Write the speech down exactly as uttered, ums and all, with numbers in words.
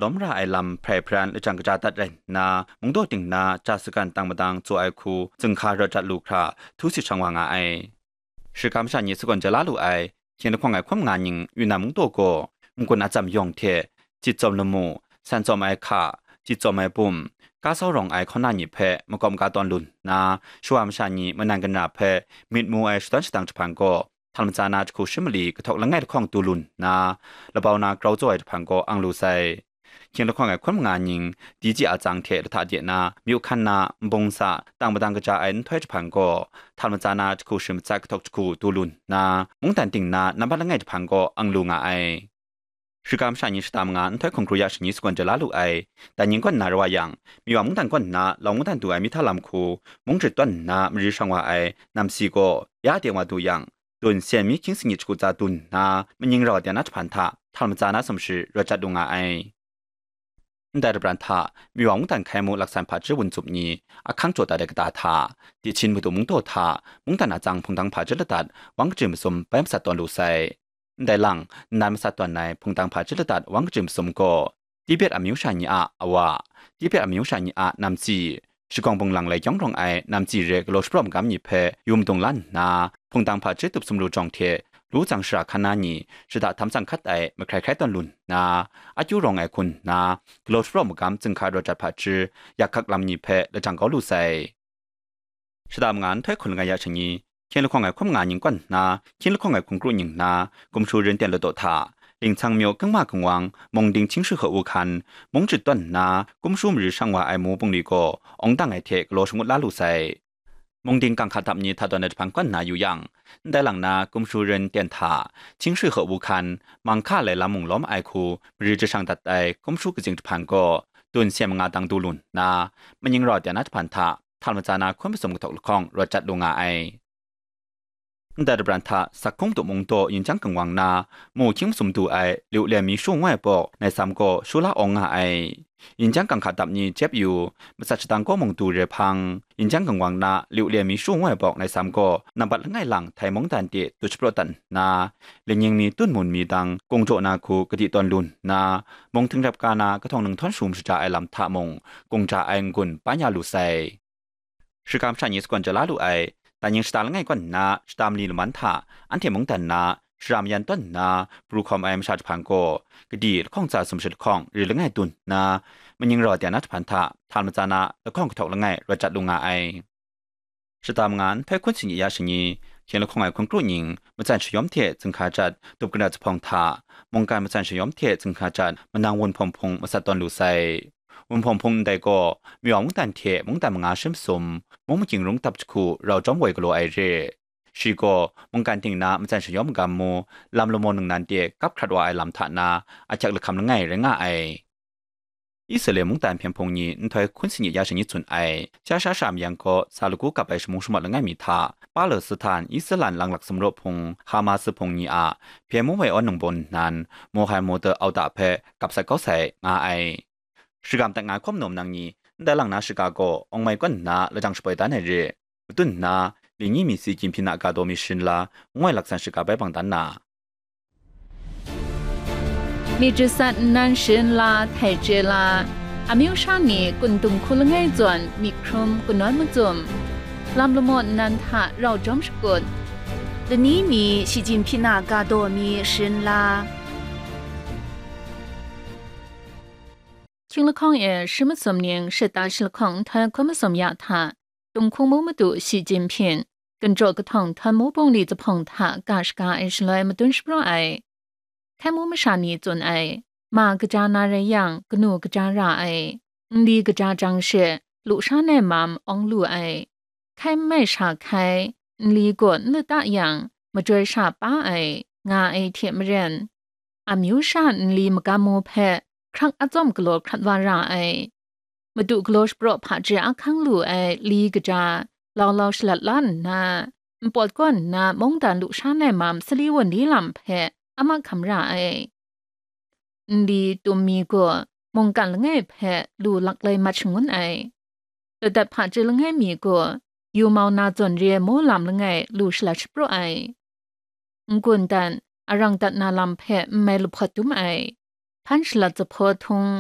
lawm ra ai lam hprai hparan lajang kaja dat rai nna, mungdaw ting na ja sagan tang madang tsaw ai hku zunghka rawt jat lu hkra htu sit shang wa nga ai. Shiga masha ni sagawn ja la lu ai, hkying lahkawng ai hkun manga ning Yunnan mungdaw gaw n-gun atsam yawng hte, jit tsawm lamu, san tsawm ai hka, jit tsawm ai bum, ka sau rawng ai hkaw na ni hpe makawp maka tawn lu nna, shawa masha ni manan ganra hpe myit mu ai shadawn shadang jahpan gaw, htal matsa na jahku shi mali kahtawk langai lahkawng du lu nna, labau na grau tsaw ai jahpan gaw ang lu sai. Hkying lahkawng ai hkun manga ning, Diji a tsang hte lahta de na, myu hkan na, nbung sa, tang madang kaja ai nhtoi jahpan gaw, htal matsa na jahku shi matsat kahtawk jahku du lu nna, mungdan ting na nambat langai jahpan gaw ang lu nga ai. Shiga masha ni shata manga nhtoi hkungru ya shani sagawn ja la lu ai, dan yin kaw nna rawt yang, Miwa mungdan kaw nna Lau mungdan du ai mihta lam hku, mung jahtum nna mari shang wa ai namsi gaw, ya de wa du yang, dun sen mi hkying sanit jahku tsa dun nna, maning rau de na jahpan hta htal matsa na sumshi rawt jat lu nga ai. Ndai rabran hta, Miwa mungdan hkai mu laksan hpaji wun tsup ni, ahkang jaw dat ai kata hta, Dihchin madu mungdaw hta, mungdan a tsang hpungdang hpaji ladat, wang kaji masum bai masat tawn lu sai. Ndai lang, nnan masat tawn ai hpungdang hpaji ladat wang kaji masum gaw, Tibet amyu sha ni a awa, Tibet amyu sha ni a namsi, shagawng bunglang lai kyawng rawng ai namsi re galaw shapraw magam ni hpe yu madung la nna, hpungdang hpaji tup sumlu jawng hte lu tsang shara hkan na ni shada htam tsang hkat ai mahkrai hkrai tawn lu nna, akyu rawng ai hku nna, galaw shapraw magam zunghka rawt jat hpaji yak hkak lam ni hpe lajang kau lu sai. Shada manga nhtoi hkun langai ya shani, hkying lahkawng ai hkun manga ning kaw nna, hkying lahkawng ai hkungru ning na, Kumshu rin ten ladaw hta, Lingchang myu kangma kangwang, mung ding hkying shi hku hkan, mung jahtum nna, kumshu mari shang wa ai mu bungli gaw, awng dang ai hte galaw shangut la lu sai. Mung ding kang hka dap ni hta tawn ai jahpan kaw nna yu yang, ndai lang na kumshu rin ten hta, hkying shi hku hkan, mang hka lai lam mung lawm ai hku, mari jashang dat ai kumshu katsing jahpan gaw, dun sen manga dang du lu nna, maning rau de na jahpan hta, htal matsa na hkun masum kahtawk lahkawng rawt jat lu nga ai. Ndai rabran hta, Sakung du mungdaw yin jang kangwang na, mu hkying masum du ai, liu lem mi shu ngu ai pawk, nai sam gaw shu la awng nga ai. Yin jang kang hka dap ni jep yu, matsat shadang kaw mung du re hpang, yin jang kangwang na, liu lem mi shu ngu ai pawk, nai sam gaw nambat langai lang Htai mungdan de du shapraw dat nna, lingning mi tun mun mi dang kung jaw na hku kadi tawn lu nna, mung htingrep ka na kahtawng nang htawn shu mashaja ai lam hta mung, kung ja ai n-gun pan ya lu sai. Shiga masha ni sagawn ja la lu ai, dan yin shata langai kaw nna shata mali laman hta, anhte mungdan na, shara mayan tawn nna, pru hkawm ai masha jahpan gaw, kadi lahkawng tsa sumshi lahkawng ri langai dun nna, maning rau de na jahpan hta, htal matsa na lahkawng kahtawk langai rawt jat lu nga ai. Shata manga nhtoi hkun sini ya shani, hkying lahkawng ai hkungru ning, matsan shayawm hte zunghka jat, dup kara zuphpawng hta, mungkan matsan shayawm hte zunghka jat, manang wun hpawng hpung masat tawn lu sai. Wun hpawng hpung ndai gaw, Miwa mungdan hte mungdan manga shi masum, mung makying rung dap jahku rau jawm woi galaw ai re. Shi gaw, mungkan ting na matsan shayawm magam mu, lam lamaw ningnan de kap hkrat wa ai lam hta na, ahkyak lahkam langai rai nga ai. Israela mungdan hpyen hpung ni nhtoi hkun sini ya shani tsun ai, sha sha sha mayang gaw sa lagu kap ai shamung shamawt langai mi hta, Palestan, Israela langlak sumraw hpung, Hamas hpung ni a, hpyen mu wai awn nang bawn nnan, Mohan Motor auta hpe kap sat kau sai nga ai. Shagam dat nga hkawm naw nang ni, ndai lang na shaga gaw awng mai kaw nna lajang shapoi dan ai re. Matun nna, mi ni mi si Jinping a ga daw mi sharin la, ngoi laksan shaga bai bang dan na. Myit jasat nnan sharin la, htai chye la, amyu sha ni kun dung hku langai zawn myit hkrum kanawn mazum, lam lamaw nnan hta rau jawm shakut, lani mi Shi Jinping a ga daw mi sharin la. Hkying lahkawng e shi masum ning shata shi lahkawng nhtoi hkun masum ya hta, Tung hkung mu madu Shi Jinping, ginjaw kahtawng htawn mu bungli zuphpawng hta ga shaga ai shaloi madun shapraw ai. Hkai mu masha ni tsun ai, ma kaja na rai yang, kanu kaja ra ai, nli kaja jang she, lu sha nai mam awng lu ai, hkai n mai sha hkai, nli gaw n lata yang, majoi sha pa ai, nga ai hte maren, amyu sha nli magam mu hpe hkrang atsawm galaw hkrat wa ra ai. Madu galaw shapraw hpaji ahkang lu ai li kaja, lau lau shalat la nna, npawt kaw nna mungdan lu sha nai mam sali wunli lam hpe a mahkam ra ai. Nli tum mi gaw mungkan langai hpe lu laklai mat shangun ai. Ladat hpaji langai mi gaw yu mau na zawn re ai mu lam langai lu shalat shapraw ai. N-gun dan, arang dat na lam hpe n mai lahpawt dum ai. hkan shalat jahpaw htung,